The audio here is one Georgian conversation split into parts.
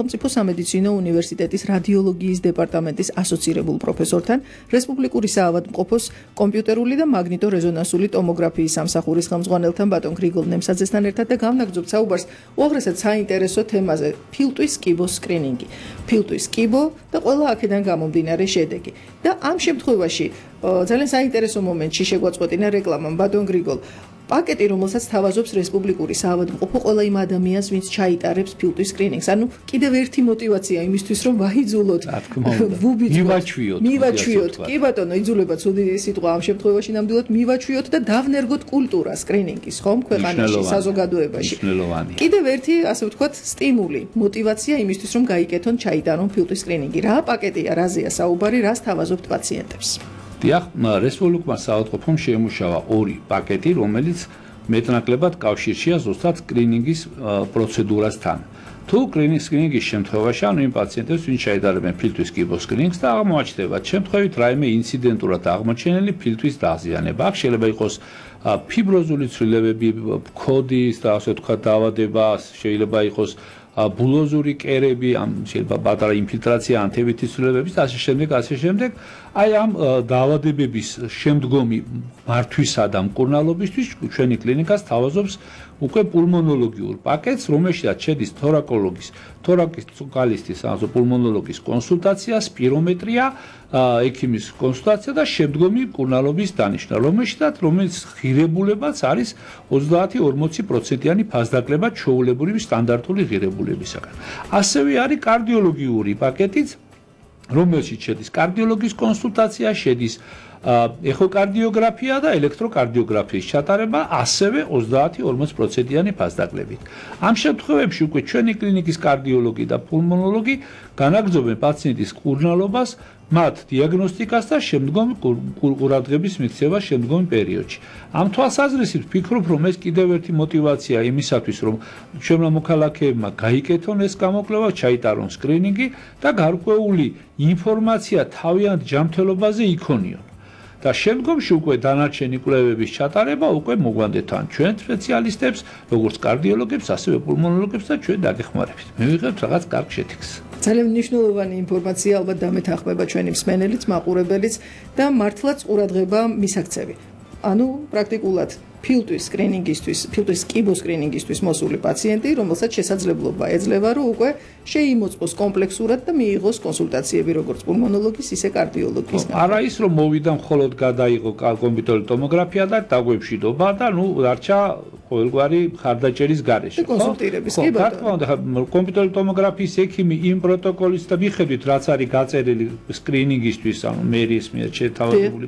სახელმწიფო სამედიცინო უნივერსიტეტის რადიოლოგიის დეპარტამენტის ასოცირებულ პროფესორთან, რესპუბლიკური საავადმყოფოს კომპიუტერული და მაგნიტო-რეზონანსული ტომოგრაფიის სამსახურის ხელმძღვანელთან ბატონ გრიგოლ ნემსაძესთან ერთად და გავნაგრძობთ საუბარს უაღრესად საინტერესო თემაზე ფილტვის კიბოს სკრინინგი, ფილტვის კიბო და ყველა აქედან გამომდინარე შედეგი. და ამ შემთხვევაში ძალიან საინტერესო მომენტში შეგვაწყვეტინა რეკლამამ ბატონ გრიგოლ პაკეტი, რომელსაც თავაზობს რესპუბლიკური საავადმყოფო ყველა იმ ადამიანს, ვინც ჩაიტარებს ფილტვის სკრინინგს. ანუ კიდევ ერთი მოტივაცია იმისთვის, რომ ვაიძულოთ, მივაჩვიოთ. კი ბატონო, იძულება ცუდი სიტყვა ამ შემთხვევაში ნამდვილად მივაჩვიოთ და დავნერგოთ კულტურა სკრინინგის, ხომ, ქვეყანაში, საზოგადოებაში. კიდევ ერთი, ასე ვთქვათ, სტიმული, მოტივაცია იმისთვის, რომ გაიკეთონ, ჩაიტარონ ფილტვის სკრინინგი. რა პაკეტია, რაზეა საუბარი, რას თავაზობთ პაციენტებს? დიახ, რესპუბლიკურმა საავადმყოფომ შეიმუშავა ორი პაკეტი, რომელიც მეტნაკლებად კავშირშია ზუსტად სკრინინგის პროცედურასთან. თუ სკრინინგის შემთხვევაში, ანუ იმ პაციენტებს, ვინც ჩაიტარებენ ფილტვის კიბოს სკრინინგს და აღმოაჩნდებათ შემთხვევით რაიმე ინციდენტურად აღმოჩენილი ფილტვის დაზიანება. აქ შეიძლება იყოს ფიბროზული ცვლილებები, ქოდის და ასე ვთქვათ დაავადება, შეიძლება იყოს ბულოზური კერები, შეიძლება პატარა ინფილტრაცია, ანთებითი ცვლილებები და ასე შემდეგ. აი ამ დაავადებების შემდგომი მართვისა და მკურნალობისთვის ჩვენი კლინიკას თავაზობს უკვე პულმონოლოგიურ პაკეტს, რომელშიც შედის თორაკისტის პულმონოლოგის კონსულტაცია, სპირომეტრია, ექიმის კონსულტაცია და შემდგომი მკურნალობის დანიშვნა, რომელიც ღირებულებაც არის 30-40%-იანი ფასდაკლება ჩვეულებრივი სტანდარტული ღირებულებისაგან. ასევე არის კარდიოლოგიური პაკეტიც, რომელშიც შედის კარდიოლოგის კონსულტაცია, შედის ეხოკარდიოგრაფია და ელექტროკარდიოგრაფიის ჩატარება, ასევე 30-40%-იანი ფასდაკლებით. ამ შემთხვევებში უკვე ჩვენი კლინიკის კარდიოლოგი და პულმონოლოგი განაგრძობენ პაციენტის მკურნალობას, მათ დიაგნოსტიკას და შემდგომი ყურადღების მიქცევას შემდგომ პერიოდში. ამ თვალსაზრისით ვფიქრობ, რომ ეს კიდევ ერთი მოტივაცია იმისათვის, რომ ჩვენმა მოქალაქეებმა გაიკეთონ ეს გამოკვლევა, ჩაიტარონ სკრინინგი და გარკვეული ინფორმაცია თავიანთ ჯანმრთელობაზე იქონიონ. და შემდგომში უკვე დანარჩენი კვლევების ჩატარება უკვე მოგვანდეთ თან ჩვენ სპეციალისტებს, როგორც კარდიოლოგებს, ასევე პულმონოლოგებს და ჩვენ დაგეხმარებით. მივიღებთ რაღაც კარგ შეთქმულებას. ძალიან მნიშვნელოვანი ინფორმაცია ალბათ დამეთანხმება ჩვენი მსმენელიც, მაყურებელიც და მართლაც ყურადღება მისაქცევი. ანუ პრაქტიკულად ფილტვის სკრინინგისთვის, ფილტვის კიბოს სკრინინგისთვის მოსული პაციენტი, რომელსაც შესაძლებლობა ეძლევა, რომ უკვე შეიმოწმოს კომპლექსურად და მიიღოს კონსულტაციები როგორც პულმონოლოგის, ისე კარდიოლოგის. არა ის, რომ მოვიდა მხოლოდ გადაიღო კომპიუტერული ტომოგრაფია და დაგვემშვიდობა და დარჩა ყოველგვარი ხარდაჭერის გარეშე. კონსულტირების კი ბატონო. კომპიუტერული ტომოგრაფიის ექიმი იმ პროტოკოლის და მიხედვით, რაც არის გაწერილი სკრინინგისთვის, ანუ მერის მიერ შეთავაზებული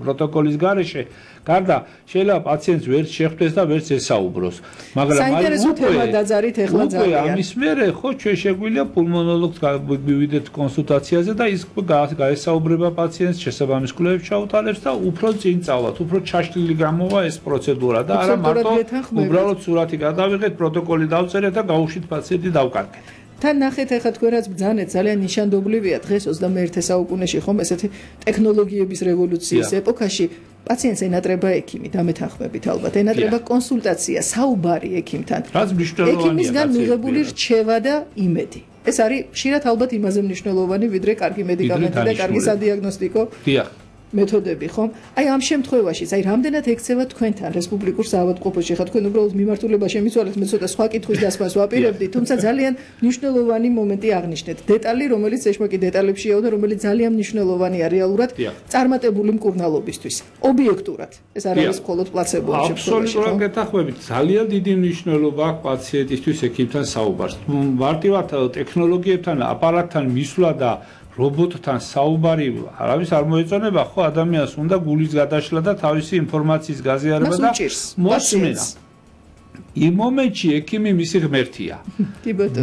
პროტოკოლის გარეშე, გარდა შეიძლება პაციენტს ვერც შეხვდეს და ვერც ესაუბროს. მაგრამ საინტერესო თემა დაძარით ეხლა ძალიან. ამის მერე ხო ჩვენ შეგვიძლია პულმონოლოგს მივიდეთ კონსულტაციაზე და ის გაესაუბრება პაციენტს, შესაბამის კვლევებს ჩაუტარებს და უფრო წინ წავალთ, უფრო ჩაშლილი გამოვა ეს პროცედურა და არა მარტო უბრალოდ სურათი გადავიღეთ, პროტოკოლი დავწერეთ და გავუშვით პაციენტი დავკარგეთ. თან ნახეთ ახლა თქვენ რაც ბრძანეთ ძალიან ნიშანდობლივია დღეს 21 საუკუნეში ხომ ესეთი ტექნოლოგიების რევოლუციის ეპოქაში პაციენტს ენატრება ექიმი დამეთანხმებით ალბათ ენატრება კონსულტაცია საუბარი ექიმთან ექიმისგან მიღებული რჩევა და იმედი ეს არის ხშირად ალბათ იმაზე მნიშვნელოვანი ვიდრე კარგი მედიკამენტი და კარგი სადიაგნოსტიკო მეთოდები ხომ? აი ამ შემთხვევაშიც, აი რამდენად ექცევა თქვენთან რესპუბლიკურ საავადმყოფოში, ხა თქვენ უბრალოდ მიმართულება შემიცვალეთ, მე ცოტა სხვა კითხვის დასმას ვაპირებდი, თუმცა ძალიან მნიშვნელოვანი მომენტი აღნიშნეთ. დეტალი, რომელიც ეშმაკი დეტალებშია და რომელიც ძალიან მნიშვნელოვანია რეალურად წარმატებული მკურნალობისთვის. ობიექტურად. ეს არ არის მხოლოდ პლაცებო შემთხვევაში. აბსოლუტურად გეთანხმებით. ძალიან დიდი მნიშვნელობა აქვს პაციენტისთვის ექიმთან საუბარს. მარტივად ტექნოლოგიებთან, აპარატთან მისვლა და რობოტთან საუბარი არავის არ მოეწონება, ხო ადამიანს უნდა გულის გადაშლა და თავისი ინფორმაციის გაზიარება და მოსმენა. იმ მომენტში ექიმი მისი ღმერთია.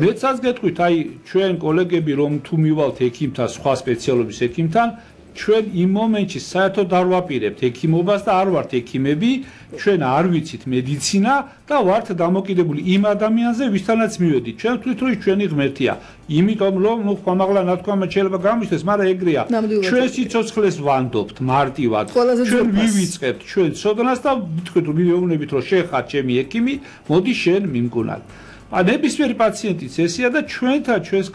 მეცაც გეტყვით, აი ჩვენ კოლეგები რომ თუ მივალთ ექიმთან, სხვა სპეციალობის ექიმთან, ჩვენ იმ მომენტში საერთოდ არ ვაპირებთ ექიმობას და არ ვართ ექიმები, ჩვენ არ ვიცით მედიცინა და ვართ დამოკიდებული იმ ადამიანზე, ვისთანაც მივედით. ჩვენ ვთვლით, რომ ჩვენი ღმერთია. იმიტომ რომ ხმამაღლა ნათქვამად შეიძლება გამიშდეს, მაგრამ ეგრეა. ჩვენ სიცოცხლეს ვანდობთ მარტივად. ჩვენ ვივიწყებთ ჩვენ ცოდნას და ვთქვით, რომ მივეუბნებით, რომ შენ ხარ ჩემი ექიმი, მოდი შენ მიმკურნალ. ნებისმიერი პაციენტიც ესეა და ჩვენთან ჩვენს